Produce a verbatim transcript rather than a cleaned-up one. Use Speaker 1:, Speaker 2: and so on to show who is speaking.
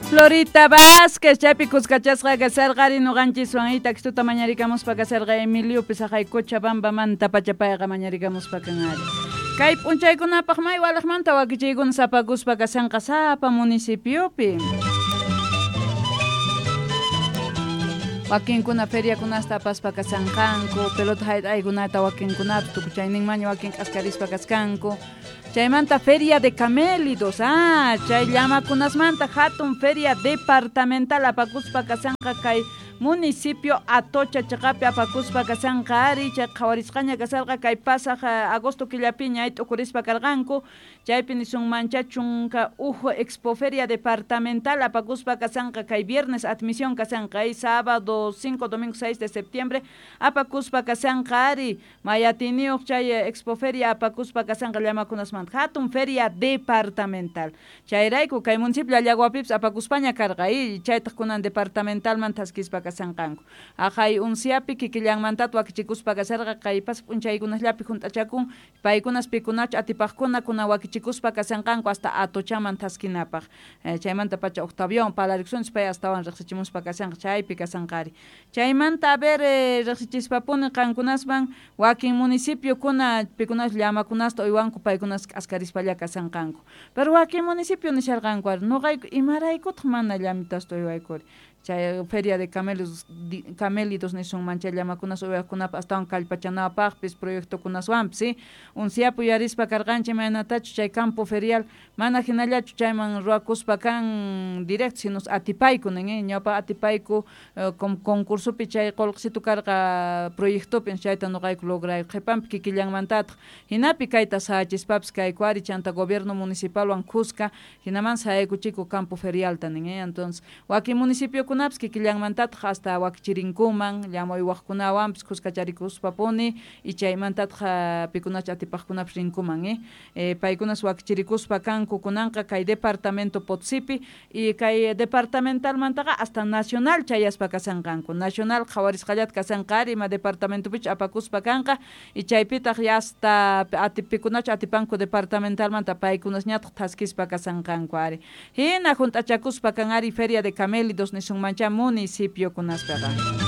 Speaker 1: Florita Vázquez, chaypi kuskachasqa kasarqari nuqanchiswan itakstuta mañarikamuspa kasarqa Emiliopi saqay Cochabambamanta pachapayqa mañarikamuspa kanari. Kay p'unchaykunapaq may walaqmanta wakichiykuna sapakuspa kasanqa sapa municipiopi. Wakinkuna feriakunasta apaspa kasanqanku, pelota hayt'aykunata wakinkunapis tukuchayninmaña wakin k'askarispa kaskanku. Chaymanta Feria de Camélidos, ah, chay llamakunasmanta hatun feria departamental apakuspa kasanqa kay municipio Atocha chaqapi apakuspa kasanqa ari, chay qhawarisqaña kasarqa kay pasaq agosto killapiña ay t'ukurispa karqanku, chaypi nisunmancha chunka uj expoferia departamental apakuspa kasanqa kay viernes admisión kasanqa ay sábado cinco domingo seis de septiembre apakuspa kasanqa ari, mayatiniyuq chay expoferia apakuspa kasanqa llamakunasmanta hatun feria departamental. Chayrayku kay municipio Llallaguapipis apakuspaña karqa y chaytaq kunan departamentalman thaskispa kasanqanku. Aqhay unsiapi kikillanmantata wakichikuspa kasarqa kay pasaq p'unchaykunasllapi junt'achakun paykunas pikunachu atipaqkuna kuna wakichikuspa kasanqanku hasta Atochaman thaskinapaq. Eh, chaymanta pacha Octavion parlarikusunchis pay astawan riqsichimuspa kasanqa chaypi kasanqari. Chaymanta a ver eh, riqsichispapuni qankunasman wakin municipiokuna pikunas llamakunasta uywanku paykunas k'askarispalla kasanqanku. Pero wakin municipio nisharqanku ari nuqayku imaraykutaq mana llamitasta uywaykuri. Chay feria de camelos, di, camélidos nisunman chay llamakunas uywaqkunapaq astawan kallpachanapaqpis proyectokunaswanpis, ¿sí? Unsiapu yuyarispa karqanchik imaynatachu chay campo ferial mana hinallachu chayman ruwakuspa kan directo sino atipayku nin, eh? Ñawpa atipayku eh, concursopi chay qullqisitu karqa proyectopi chayta nuqayku lograyku qhipanpi kikillanmantataq hinapi kayta sahachispapis kayku ari chanta gobierno municipalwan kuska hinaman sahaykuchiku campo ferialta nin, eh? Entonces wakin municipiokunapis kikillanmantataq hasta wakichirinkuman llama uywaqkunawanpis kuskacharikuspapuni y chaymantataq pikunachu atipaqkunapis rinkuman, eh? Eh, paykunas wakichirikuspa kanku kunanqa kay departamento Potosipi y kay departamentalmantaqa hasta nacional chayaspa kasanqanku nacional qhawarisqallata kasanqa ari ima departamentopichu apakuspa kanqa y chaypitaq ya hasta atipikunachu atipanku departamentalmanta paykunasñataq thaskispa kasanqanku ari hina junt'achakuspa kan ari feria de camélidos nisunmancha municipiokunaspaqa.